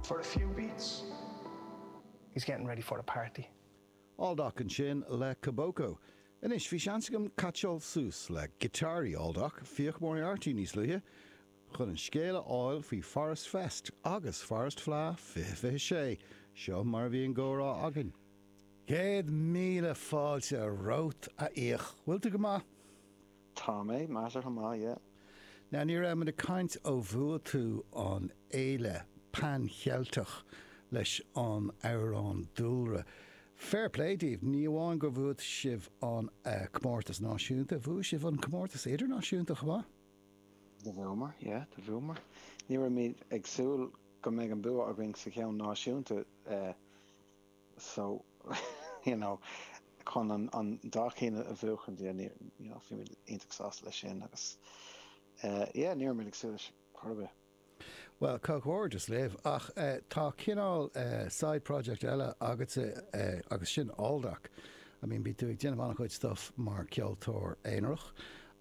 For a few beats. He's getting ready for a party. Aldoc ansin le Koboko. Anois, bhí seans agam caitseáil suas le giotáraí Aldoc, Fiach Moriarty níos luaithe, chun an scéal a fháil faoi Forest Fest agus Forest Fleadh 2026. Seo mar a bhí an gcomhrá againn. 100,000 fáilte romhat, a Fhiach. Bhfuil tú go maith? Tá mé, measartha maith, yeah. Now, ní raibh muid ag caint ó bhuaigh tú an fhéile Pan Cheilteach leis an amhrán Dúlra. Fair play daoibh, ní amháin gur bhuaigh sibh an comórtas náisiúnta, bhuaigh sibh an comórtas idirnáisiúnta chomh maith. Do bhuamar, yeah, do bhuamar. Ní raibh muid ag súil go mbeidh an bua againn sa cheann náisiúnta so, you know, chun an an dá cheann a bhuachan, yeah, ní, you know, bhí muid iontach sásta leis sin agus yeah, ní raibh muid ag súil leis chor ar bith. Bhuel, comhghairdeas libh, ach tá cineál side project eile agatsa agus sin Aldoc. I mean, bíonn tú ag déanamh an-chuid stuff mar ceoltóir aonarach,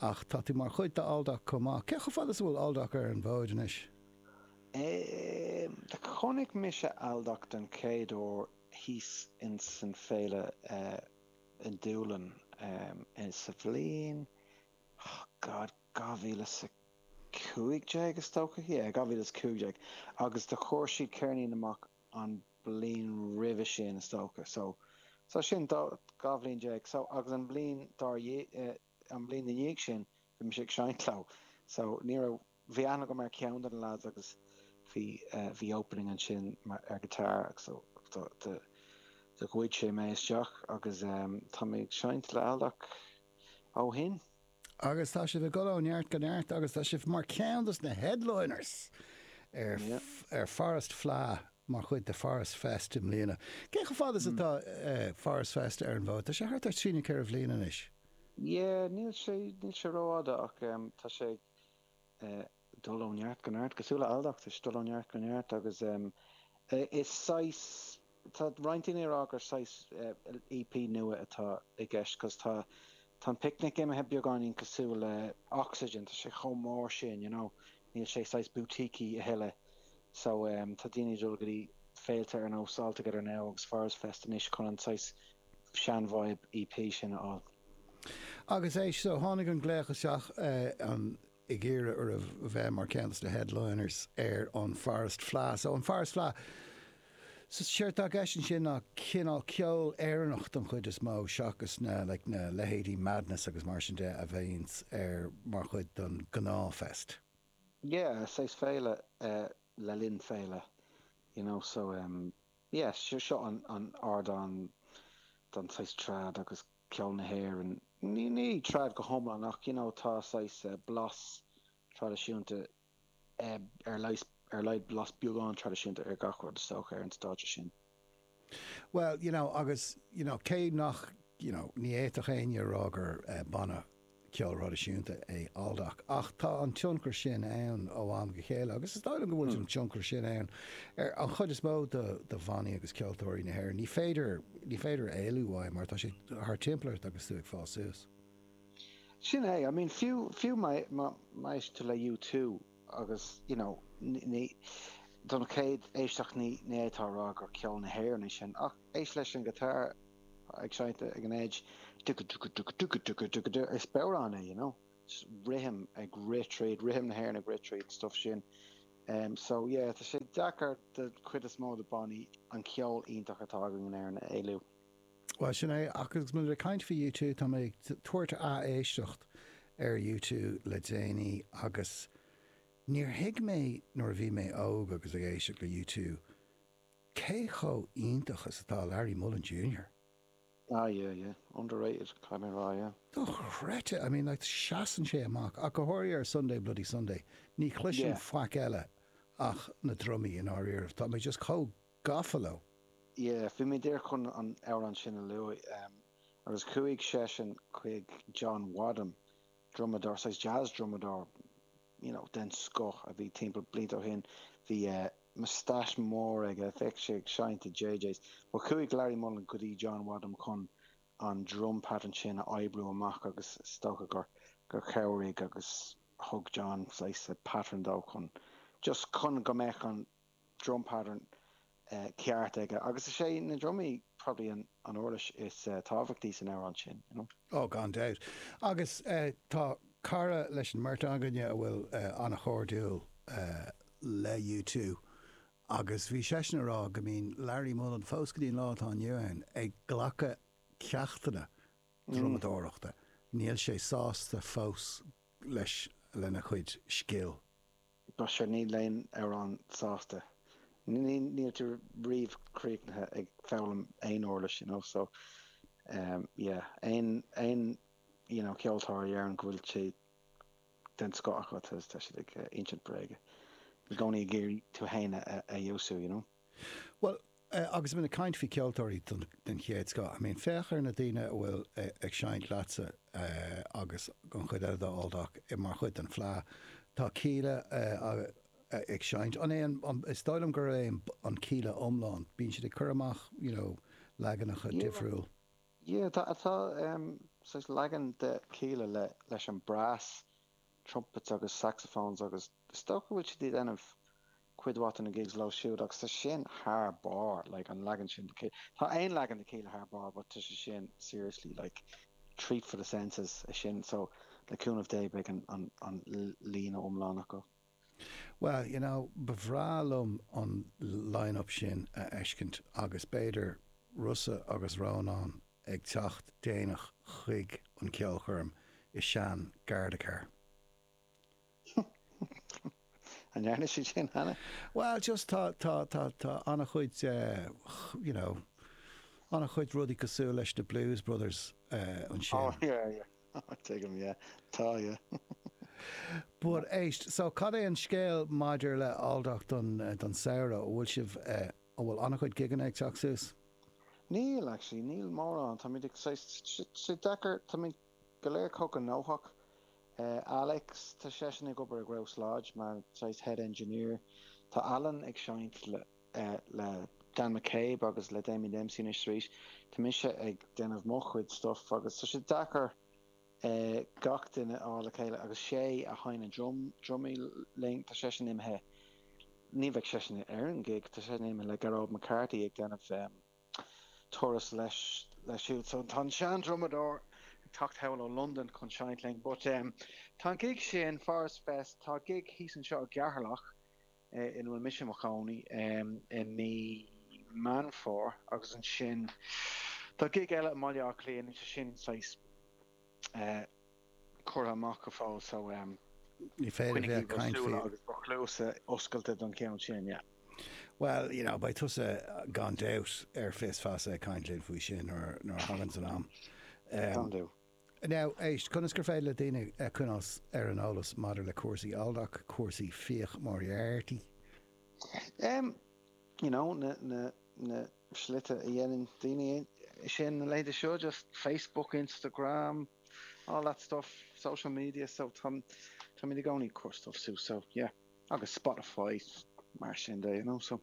ach tá tú mar chuid de Aldoc chomh maith. Cé chomh fada is a bhfuil Aldoc ar an bhfód anois? Do chonaic mise Aldoc den chéad uair thíos ins an féile i nDúlainn sa bhliain, oh God, 2015 is dócha, yeah, 2015, agus do chuir siad ceirnín amach an bliain roimhe sin is dócha, so, so sin 12 bhliain, so agus an bhliain dár, an bhliain ina dhiaidh sin bhí mise ag seinnt leo, so ní raibh, bhí aithne agam ar cheann de na lads agus bhí, bhí opening ansin mar, ar guitar agus so do, do, do ghoid sé mé isteach agus tá mé ag seinnt le Aldoc ó shin. Agus tá sibh ag dul ó neart go neart agus tá sibh mar cheann dos na headliners ar ar Forest Fleadh mar chuid de Forest Fest i mbliana. Cé chomh fada is atá Forest Fest ar an bhfód? Tá sé thart ar trí nó ceithre bhliain anois. Yeah, níl sé, níl sé rófhada ach tá sé ag dul ó neart go neart, cosúil le Aldoc, tá sé ag dul ó neart go neart agus is saghas, Tá roinnt daoine ag rá gur saghas EP nua atá i gceist 'cause tá tá an Picnic imithe beagáinín cosúil le Oxygen, tá sé chomh mór sin, you know, níl sé saghas boutiquey a thuilleadh. So tá daoine ag dul go dtí féilte ar nós All Together Now agus Forest Fest anois chun an saghas sean-vibe EP sin a fháil. Agus éist, so tháinig an glaoch isteach an ag iarraidh oraibh a bheith mar ceann de na headliners ar an Forest Fleadh. So an Forest Fleadh, so séard atá i gceist ansin ná cineál ceol Éireannach don chuid is mó seachas na like na leithéidí Madness agus mar sin de a bhíonns ar mar chuid den gnáthfest. Yeah, saghas féile le linn féile, you know, so em yeah, seo an an ardán don saghas trad agus ceol na hÉireann, ní ní trad go hiomlán ach you know tá saghas blas traidisiúnta ar leigheas ar laghad blas beagán traidisiúnta ar gach rud is dócha ar an stáitse sin. Well you know agus you know cé nach you know ní fhéadfadh éinne a rá gur banna ceol thraidisiúnta é Aldoc, ach tá an tionchar sin ann ó am go chéile agus is dóigh liom go bhfuil an tionchar sin ann ar an chuid is mó de de bhannaí agus ceoltóirí na hÉireann. Ní féidir, ní féidir éalú uaidh mar tá sé thar timpeall ort agus tú ag fás suas. Sin é, I mean fiú, fiú má, má, má éisteann tú le U2 agus you know ní, don chéad éisteacht ní, ní fhéadfá a rá gur ceol na hÉireann é sin ach éist leis an guitar ag seinnt ag an edge, dugu-dugu-dugu-dugu-dugu-dugu-du, is bodhrán é, you know, just rithim ag rith tríd, rithim na hÉireann ag rith tríd, stuff sin. Um, so yeah, tá sé deacair do chuid is mó de bannaí an ceol iontach atá againn in Éirinn a éalú. Bhuel, sin é, ach agus muid ag caint faoi U2, tá mé ag tabhairt ath-éisteacht ar U2 le déanaí agus níor thuig mé nuair a bhí mé óg agus ag éisteacht le U2 Cé chomh iontach is atá Larry Mullen Junior? Ah yeah, yeah. Underrated, caithfidh mé a rá, yeah. Dochreidte, I mean like seasann sé amach, ach go háirithe ar Sunday Bloody Sunday, ní chloisim Yeah. faic eile ach na drumaí i ndáiríribh, tá mé just chomh gafa leo. Yeah, bhí mé díreach chun an amhrán sin a lua, agus chuaigh seisean chuig John Wadham, drumadóir, saghas jazz drumadóir, you know, den scoth a bhí timpeall blianta ó shin, bhí moustache mór aige, bheadh sé ag seinnt i JJ's, but chuaigh Larry Mullen go dtí John Wadham chun an drum pattern sin a oibriú amach agus is dócha gur gur chabhraigh agus thug John saghas pattern dó chun just chun go mbeadh an drum pattern. ceart aige agus is é na drumaí probably an uirlis is tábhachtaí san amhrán sin, you know. Oh, gan dabht. Agus tá cara leis an mbeirt againne a bhfuil an-chairdiúil le U2 agus bhí seisean ag rá go mbíonn Larry Mullen fós go dtí an lá atá inniu ann ag glacadh ceachtanna drumadóireachta. Níl sé sásta fós leis lena chuid scil. But sure, níl aon amhrán sásta. Níl tú riamh críochnaithe ag foghlaim aon uirlis, you know, so yeah, aon, aon, you know, ceoltóir a deireann go bhfuil sé den scoth acu, tá siad ag insint bréige. I gcónaí ag iarraidh tú féin a fheabhsú, you know. Bhuel, agus muid ag caint faoi cheoltóirí den chéad scoth, I mean, féach ar na daoine a bhfuil ag seinnt leatsa agus an chuid eile d'Aldoc mar chuid den Fleadh. Tá Kíla ag seinnt. An é an, is dóigh liom gur é an Kíla iomlán. Bíonn siad ag cur amach, you know, leaganacha difriúil. Yeah, tá, tá saghas leagan de Kíla le, leis an brass, trumpets agus saxophones agus is dócha go bhfuil siad ag déanamh cuid mhaith de na gigs leo siúd agus tá sin thar barr, like an leagan sin de Kíla. Tá aon leagan de Kíla thar barr but tá sé sin seriously like treat for the senses é sin so le cúnamh Dé beidh an, an, an líne iomlán acu. Well, you know, ba bhreá liom an line-up sin a fheiscint agus b'fhéidir Rossa agus Rónán ag teacht déanach chuig an ceolchoirm i sean Garda car. An ndearna siad sin cheana? Well, just tá, tá, tá, tá an-chuid, you know, an-chuid rudaí cosúil leis na Blues Brothers ansin. Oh, yeah, yeah. Tuigim, yeah. Tá, yeah. But éist, so cad é an scéal maidir le Aldoc don, don samhradh? An bhfuil sibh, an bhfuil an-chuid gigeanna ag teacht suas? Níl, actually, níl mórán. Táimid ag, saghas, sé deacair, táimid go léir chomh gnóthach. Alex, tá seisean ag obair i Grouse Lodge mar saghas head engineer. Tá Alan ag seinnt le le Dan McCabe agus le Damien Dempsey anois arís. Tá mise ag déanamh mo chuid stuff agus tá sé deacair gach duine a fháil le chéile agus Shay a sheinneann drum, drumaí linn, tá seisean imithe, ní bheidh seisean ar an gig, tá seisean imithe le Gearóid McCarthy ag déanamh turas leis siúd. So tá an sean-drumadóir ag teacht thall ó Londain chun seinnt linn. But um, tá an gig sin, Forest Fest, tá gig thíos anseo i gCeatharlach ina bhfuil mise i mo chónaí um, i mí Meán Fómhair agus ansin tá gig eile i mBaile Átha Cliath, níl sé sin saghas eh, curtha amach go fóill so Ní féidir coinnigí bheith ag bhur caint súile faoi. agus bhur gcluasa oscailte don cheann sin, yeah. Well, you know, beidh tusa gan dabht ar Fios Feasa ag caint linn faoi sin nuair nuair a thaganns an am. Gan dabht. Now, éist, conas gur féidir le daoine coinneáil ar an eolas maidir le cúrsaí Aldoc, cúrsaí Fiach Moriarty? Um, you know, na, na, na slite a dhéanann daoine sin na laethanta seo, just Facebook, Instagram, all that stuff, social media, so tá, táimid i gcónaí ag cur stuff suas, so yeah, agus Spotify, mar sin de, you know, so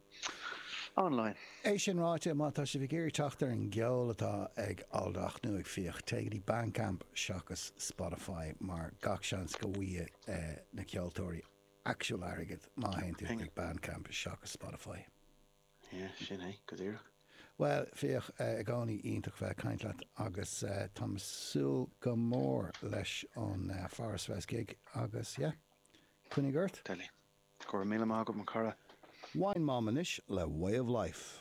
online. É sin ráite, má tá sibh ag iarraidh teacht ar an gceol atá ag Aldoc nó ag Fiach, téigh go dtí Bandcamp seachas Spotify mar gach seans go bhfaighidh na ceoltóirí actual airgead má théann tú chuig Bandcamp seachas Spotify. Yeah, sin é, go díreach. Bhuel, Fiach, i gcónaí iontach bheith ag caint leat agus táim ag súil go mór leis an Forest Fest gig agus yeah, coinnigh ort. Deadly. Go raibh míle maith agat, mo chara. Wine Mom anois le Way of Life.